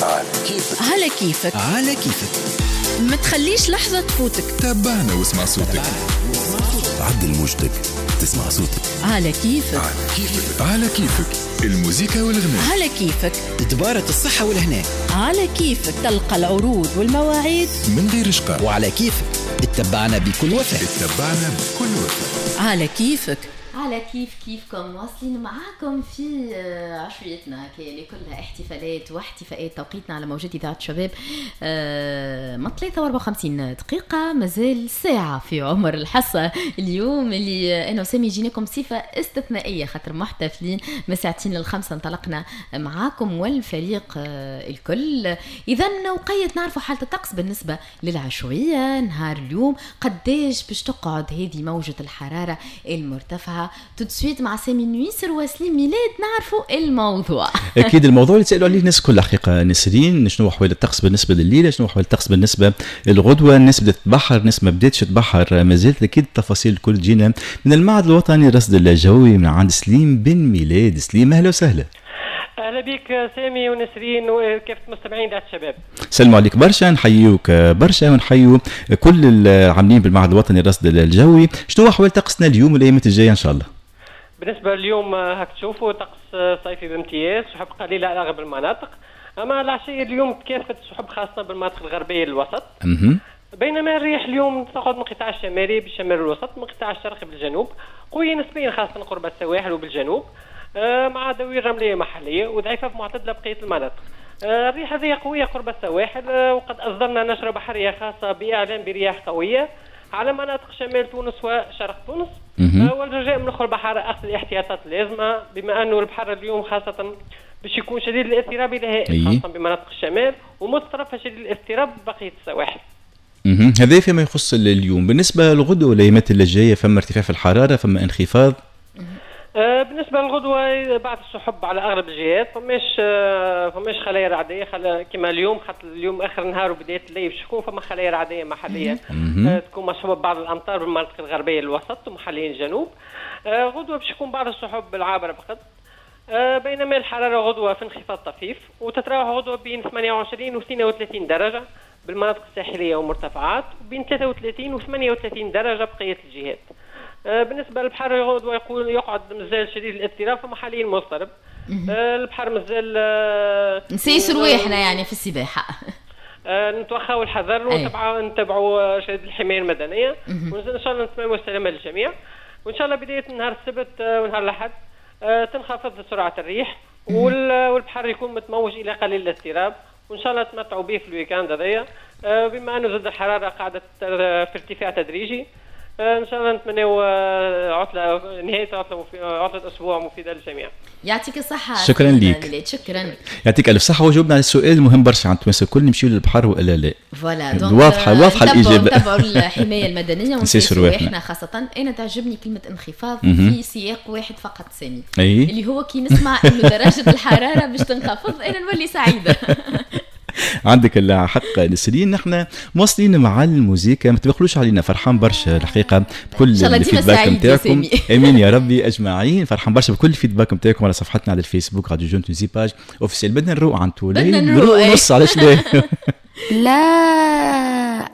على كيفك. على كيفك. على كيفك. ما تخليش لحظة تفوتك. تابعنا واسمع صوتك. عدل موجتك تسمع صوتك. على كيفك. على كيفك. على كيفك الموزيكا والغناء. على كيفك. دبارة الصحة والهنا. على كيفك تلقى العروض والمواعيد من غير شقاء. وعلى كيفك اتبعنا بكل وفاء. اتبعنا بكل وفاء. على كيفك. على كيف كيفكم واصلين معاكم في عشويتنا اللي كلها احتفالات واحتفاءات. توقيتنا على موجات إذاعة الشباب ما 3:54 دقيقة، مازال ساعة في عمر الحصة اليوم اللي أنا وسامي جيناكم بصفة استثنائية خاطر محتفلين من 4:45 انطلقنا معاكم والفريق الكل. إذا وقيت نعرفوا حالة الطقس بالنسبة للعشوية نهار اليوم، قداش باش تقعد هذه موجة الحرارة المرتفعة. tout de suite مع سامي نويسر وسليم ميلاد نعرفوا الموضوع. اكيد الموضوع اللي تسالوا عليه الناس كل حقيقة نسرين، شنو احوال الطقس بالنسبة لليلة، شنو احوال الطقس بالنسبة للغدوه، الناس بدات تبحر، الناس ما بداتش تبحر مازالت. اكيد التفاصيل الكل تجينا من المعهد الوطني للرصد الجوي من عند سليم بن ميلاد. سليم اهلا وسهلا. اهلا بك سامي ونسرين وكافة مستمعين اذاعة الشباب. سلموا عليك برشا، نحيوك برشا ونحيو كل العاملين بالمعهد الوطني للرصد الجوي. شنو احوال طقسنا اليوم والايامات الجاية ان شاء الله؟ بالنسبة لليوم هاك تشوفوا طقس صيفي بامتياز، سحب قليله على اغلب المناطق، اما العشية اليوم تكافت السحب خاصة بالمناطق الغربية للوسط. بينما الريح اليوم تقعد من القطاع الشمالي بالشمال الوسط، من القطاع الشرقي بالجنوب، قوية نسبيا خاصة قرب السواحل وبالجنوب، مع دوير رمليه محليه وضعيفه في معتدلة بقية المناطق. الريح هذه قوية قرب السواحل، وقد اصدرنا نشره بحرية خاصة باعلان برياح قوية على مناطق شمال تونس وشرق تونس. والرجاء من اخر البحر اخذ الاحتياطات اللازمة، بما انه البحر اليوم خاصة باش يكون شديد الاضطراب الى هائل خاصة بمناطق الشمال، ومتطرفه شديد الاضطراب بقية السواحل. هذا فيما يخص اليوم. بالنسبة للغدوه والايامات اللي جاية، فما ارتفاع في الحرارة، فما انخفاض؟ بالنسبة للغدوة بعد السحب على أغلب الجهات، فماش خلايا رعدية كما اليوم، خاطر اليوم آخر النهار وبداية الليل باش تكون فما خلايا رعدية محلية تكون مصحوبة ببعض الأمطار بالمناطق الغربية للوسط ومحليا الجنوب. غدوة باش يكون بعض السحب العابرة فقط، بينما الحرارة غدوة في انخفاض طفيف وتتراوح غدوة بين 28 و 32 درجة بالمناطق الساحلية ومرتفعات، وبين 33 و 38 درجة بقية الجهات. بالنسبة للبحر غدوة يقعد مازال شديد الاضطراب فمحليا مضطرب. البحر مازال نسيس رواحنا يعني في السباحة. نتوخاو الحذر ونتبعوا شهادة الحماية المدنية، وان شاء الله نتمنوا السلامة للجميع. وان شاء الله بداية نهار السبت ونهار الأحد تنخفض سرعة الريح والبحر يكون متموج إلى قليل الاضطراب، وان شاء الله تمتعوا به في ال week-end هذايا، بما انه زاد الحرارة قاعدة في ارتفاع تدريجي. ان شاء الله نتمنوا عطله، نهاية عطله، عطله اسبوع مفيدة للجميع. يعطيك الصحة. شكرا ليك. شكرا. يعطيك الف صحة. وجاوبنا على السؤال المهم برشا عند التوانسة الكل، نمشيو للبحر والا لا؟ voilà، واضحة واضحة الاجابة. نتبعوا الحماية المدنية ونسيسوا رواحنا خاصة. انا تعجبني كلمة انخفاض في سياق واحد فقط سامي، اللي هو كي نسمع انه درجه الحرارة باش تنخفض انا نولي سعيدة. عندك الحق نسرين. نحن مواصلين مع الموزيكا، ما تبخلوش علينا، فرحان برشا الحقيقة بكل ال feedback نتاعكم. امين يا ربي اجمعين. فرحان برشا بكل ال feedback نتاعكم على صفحتنا على الفيسبوك راديو جون تونسي page officielle. بدنا نروق عن تولي، نروق نص، علاش لا؟ لا.